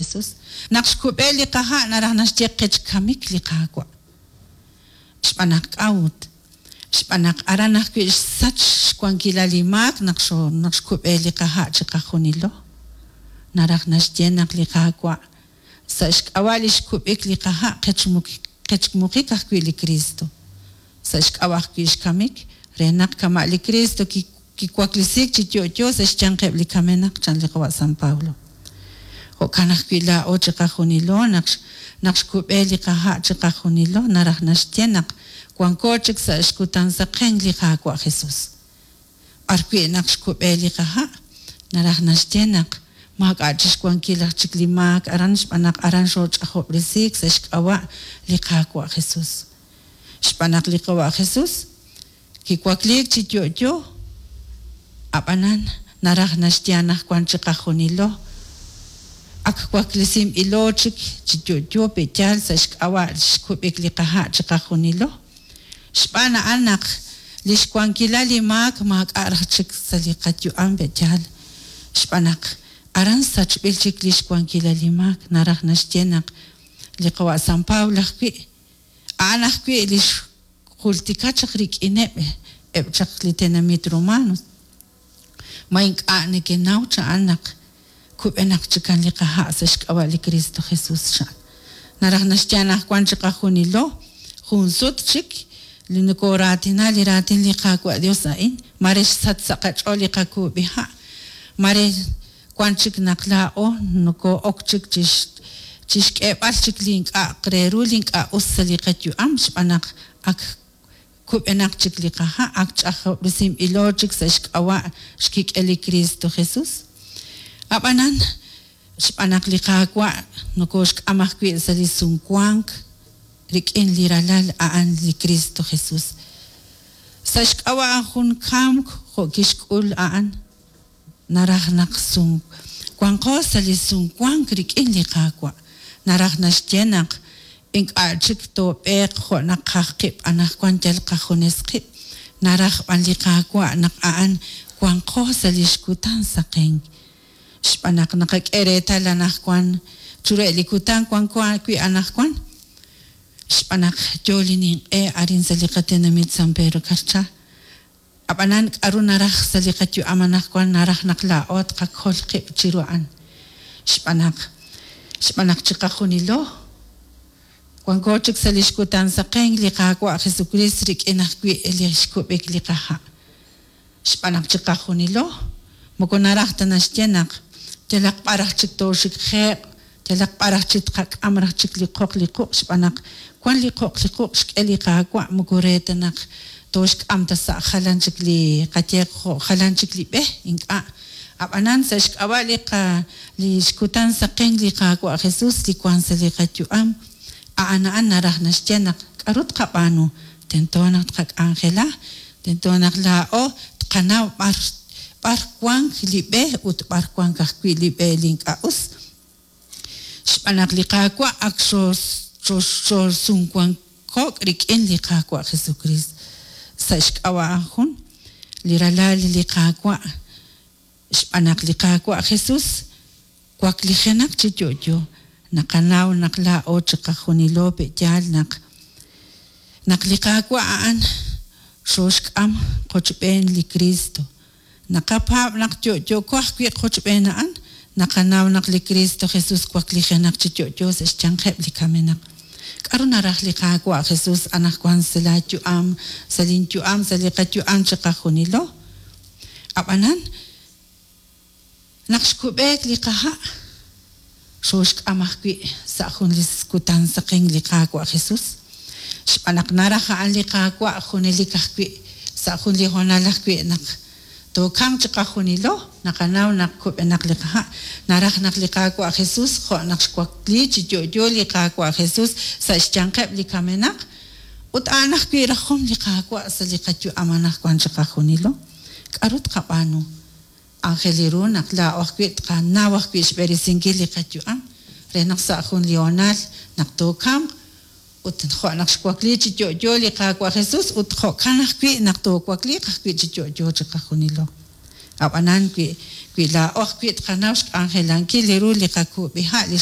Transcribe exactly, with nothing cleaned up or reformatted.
Jesús. Naq xkub'e li qaha' naraj naxye qech kamik li Qaawa'. Xb'aan naq k'a'ut? Xb'aan naq aran ajwi' xsach xwankilal li maak naq xo naq xkub'e li qaha' chiqajunilo. Naraj naxye naq li Qaawa' sa' xk'ab'a' li xkub'ik li qaha' qechmuqik ajwi' li Cristo. Sa' xk'ab'a' ajwi' xkamik re naq kama' li Cristo kiwaklesiik chi yo'yo sa' xyanqeb' li kamenaq chan li qawa' San Pablo. Jo'kan ajwi' laa'o chiqajunilo naq naq xkub'e li qaha' chiqajunilo naraj naxye naq wanko chik sa' xkutan saqenk li Qaawa' Jesús. B'arwi' naq xkub'e li qaha' naraj naxye naq maak'a' chixwankil aj chik li maak aran xb'aan naq aran xooch'ajob'resiik sa' xk'ab'a' li Qaawa' Jesús. Xb'aan naq li Qawa' Jesús kiwakliik chi yo'yo ab'anan naraj naxye anaqwan chiqajunilo ak waklesinb'ilo chik chi yo'yo pe'yaal sa' xk'ab'a' xkub'ik li qaha' chiqajunilo. Xb'aan a'an naq li xwankilal li maak maak'a' raj chik sa' li qayu'am pe'yaal. Xb'aan naq aran sachb'il chik li xwankilal li maak naraj naxye naq li qawa' San Pablo ajwi' a'an ajwi' li xjultika chaq rik'ineb' eb' chaq li tenamit romanos. Ma ink'a' nekenaw cha'an naq kub'enaq chikan li qaha' sa' xk'ab'a' li Cristo Jesús chan. Naraj naxye anaqwan chiqajunilo jun sut chik li nokoraatina li raatin li Qaawa' Dios a'in mare xsach sa' qach'ool li qakuub'iha' mare wan chik naq laa'o noko'ok chik chixk'eeb'al chik li ink'a' re ru li ink'a' us sa' li qayu'am xb'aan naq ak kub'enaq chik li qaha' ak ch'ajob'resinb'ilo chik sa' xk'ab'a' xkik'el li Cristo Jesús. Ab'anan xb'aan naq li Qaawa' nokoxk'am ajwi' sa' li sumwank rik'in li ralal a'an li Cristo Jesús. Sa' xk'ab'a' jun kamk jo' kixk'ul a'an naraj naq sum wanqo sa' li sumwank rik'in li Qaawa'. Naraj naxye naq ink'a' chik toob'eeq jo' naqaj qib' anaqwan yal qajunes qib'. Naraj b'an li Qaawa' naq a'an wanqo sa' li xkutan saqenk. Xb'aan naq naqak'e reetal anaqwan chire li kutan wanko wi' anaqwan. Xb'aan naq yo li ninq'e arin sa' li qatenamit San Pedro Carchá. Ab'anan k'aru naraj sa' li qayu'am anaqwan naraj naq laa'o tqakol qib' chiru a'an. Xb'aan naq xb'aan naq chiqajunilo wanko chik sa' li xkutan saqenk li Qaawa' Jesucristo rik'in ajwi' li xkub'ik li qaha'. Xb'aan naq chiqajunilo moko naraj ta naxye naq yalaq b'ar aj chik tooxikje'q yalaq b'ar aj chik tqak'am raj chik li qoq li quq' xb'aan naq wan li qoq li quq' xk'e li Qaawa' moko re ta naq tooxk'am ta sa' jalan chik li qayeq jo' jalan chik li b'e ink'a'. Ab'anan sa' xk'ab'a' li qa li xkutan saqenk li Qaawa' Jesús li wan sa' li qayu'am a'an a'an naraj naxye naq k'aru tqab'aanu tento naq tqak'anjela tento naq laa'o tqanaw b'ar b'ar wank li b'e ut b'ar wank ajwi' li b'e li ink'a' us. Xb'aan naq li Qaawa' ak xooxsumwanko'k rik'in li Qaawa' Jesucristo. Sa' xk'ab'a' jun li ralal li Qaawa' xb'aan naq li Qaawa' Jesús waklijenaq chi yo'yo naqanaw naq laa'o chiqajunilo pe'yaal naq naq li Qaawa' a'an xooxk'am qochb'een li Cristo. Naqapaab' naq yo'yoko ajwi' qochb'een a'an naqanaw naq li Cristo Jesús waklijenaq chi yo'yo sa' xyanqeb' li kamenaq. K'aru naraj li Qaawa' Jesús anaqwan sa' laayu'am sa' linyu'am sa' li qayu'am chiqajunilo. Ab'anan naq xkub'eek li qaha' xooxk'am ajwi' sa' jun li kutan saqenk li Qaawa' Jesús. Xb'aan naq naraj a'an li Qaawa' junelik ajwi' sa' jun li hoonal ajwi' naq tookamq chiqajunilo naqanaw naq kub'enaq li qaha' naraj naq li Qaawa' Jesús jo' naq xwakli chi yo'yo li Qaawa' Jesús sa' xyanqeb' li kamenaq ut a'an ajwi' rajom li Qaawa' sa' li qayu'am anaqwan chiqajunilo. K'aru tqab'aanu? Aajel ru naq laa'o ajwi' tqanaw ajwi' xb'eresinkil li qayu'am re naq sa' jun li hoonal naq tookamq ut jo' naq xwakli chi yo'yo li Qaawa' Jesús ut jo'kan ajwi' naq toowakliiq ajwi' chi yo'yo chiqajunilo. Ab'anan wi wi laa'o ajwi' tqanaw xk'anjelankil li ru li qakuub'iha' li